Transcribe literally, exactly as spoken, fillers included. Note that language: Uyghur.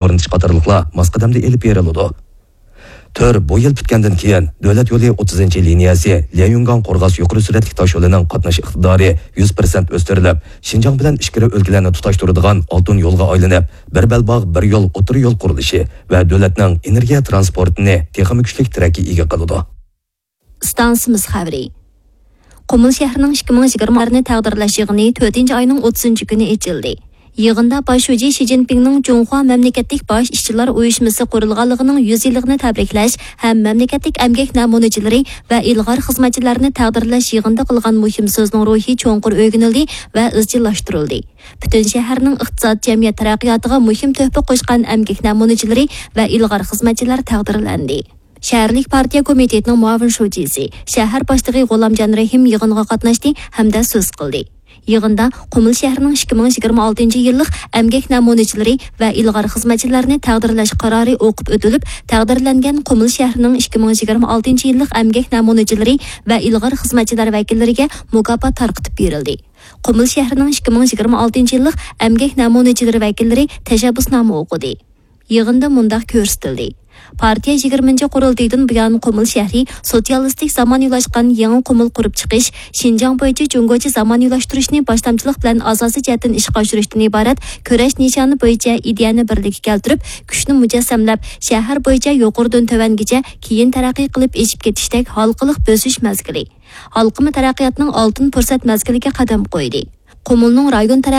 ئورنىتىش قاتارلىقلار ماس قەدەمدە ئېلىپ بېرىلىدۇ. تۈر بۇ يىل پۈتكەندىن كېيىن، دۆلەت يولى ئوتتۇزىنچى لىنىيەسى ليەنيۈنگاڭ قورغاس يۇقىرى سۈرئەتلىك تاش يولىنىڭ قاتناش ئىقتىدارى يۈز پىرسەنت ئۆستۈرۈلۈپ، شىنجاڭ بىلەن ئىچكىرى ئۆلكىلەرنى تۇتاشتۇرىدىغان ئالتۇن يولغا ئايلىنىپ، بىر بەلباغ، بىر يول، ئوتتۇرا يول قۇرۇلۇشى ۋە دۆلەتنىڭ ئېنېرگىيە تىرانسپورتىنى تېخىمۇ كۈچلۈك تىرەككە ئىگە قىلىدۇ. ئىستانسىمىز خەۋىرى. قۇمۇل شەھىرىنىڭ ئىككى مىڭ يىگىرمە ئارنى تەقدىرلەش يىغىنى تۆتىنچى ئاينىڭ ئوتتۇزىنچى كۈنى ئېچىلدى. يىغىندا باش شۇجى شى جىنپىڭنىڭ جۇڭخۇا مەملىكەتلىك باش ئىشچىلار ئۇيۇشمىسى قۇرۇلغانلىقىنىڭ يۈز يىللىقىنى تەبرىكلەش ھەم مەملىكەتلىك ئەمگەك نەمۇنىچىلىرى ۋە ئىلغار خىزمەتچىلەرنى تەقدىرلەش يىغىنىدا قىلغان مۇھىم سۆزىنىڭ روھى چوڭقۇر ئۆگىنىلدى ۋە ئىزچىللاشتۇرۇلدى. پۈتۈن شەھەرنىڭ ئىقتىساد، جەمئىيەت تەرەققىياتىغا مۇھىم تۆھپە قوشقان ئەمگەك نەمۇنىچىلىرى ۋە ئىلغار خىزمەتچىلەر تەقدىرلەندى. شەھەرلىك پارتىيە كومىتېتىنىڭ مۇئاۋىن شۇجىسى، شەھەر باشلىقى غۇلامجان رەھىم يىغىنغا قاتناشتى ھەمدە سۆز قىلدى. يىغىندا قۇمۇل شەھىرىنىڭ ئىككى مىڭ يىگىرمە ئالتىنچى يىللىق ئەمگەك نەمۇنىچىلىرى ۋە ئىلغار خىزمەتچىلەرنى تەقدىرلەش قارارى ئوقۇپ ئۆتۈلۈپ، تەقدىرلەنگەن قۇمۇل شەھىرىنىڭ ئىككى مىڭ يىگىرمە ئالتىنچى يىللىق ئەمگەك نەمۇنىچىلىرى ۋە ئىلغار خىزمەتچىلەر ۋەكىللىرىگە مۇكاپات تارقىتىپ بېرىلدى. قۇمۇل شەھىرىنىڭ ئىككى مىڭ يىگىرمە ئالتىنچى يىللىق ئەمگەك نەمۇنىچىلىرى ۋەكىللىرى تەشەببۇسنامە ئوقۇدى. يىغىندا مۇنداق كۆرسىتىلدى. پارتىيە يىگىرمىنچى قۇرۇلتىيىدىن بۇيان قۇمۇل شەھىرى سوتسىيالىستىك زامانىۋىلاشقان يېڭى قۇمۇل قۇرۇپ چىقىش، شىنجاڭ بويىچە جۇڭگوچە زامانىۋىلاشتۇرۇشنى باشلامچىلىق بىلەن ئاساسىي جەھەتتىن ئىشقا ئاشۇرۇشتىن ئىبارەت كۈرەش نىشانى بويىچە ئىدىيەنى بىرلىككە كەلتۈرۈپ، كۈچنى مۇجەسسەملەپ، شەھەر بويىچە يۇقىرىدىن تۆۋەنگىچە كېيىن تەرەققىي قىلىپ ئېشىپ كېتىشتەك ھالقىلىق بۆسۈش مەزگىلى، ھالقىما تەرەققىياتنىڭ ئالتۇن پۇرسەت مەزگىلىگە قەدەم قويدى. قۇمۇلنىڭ رايون تەرەققىي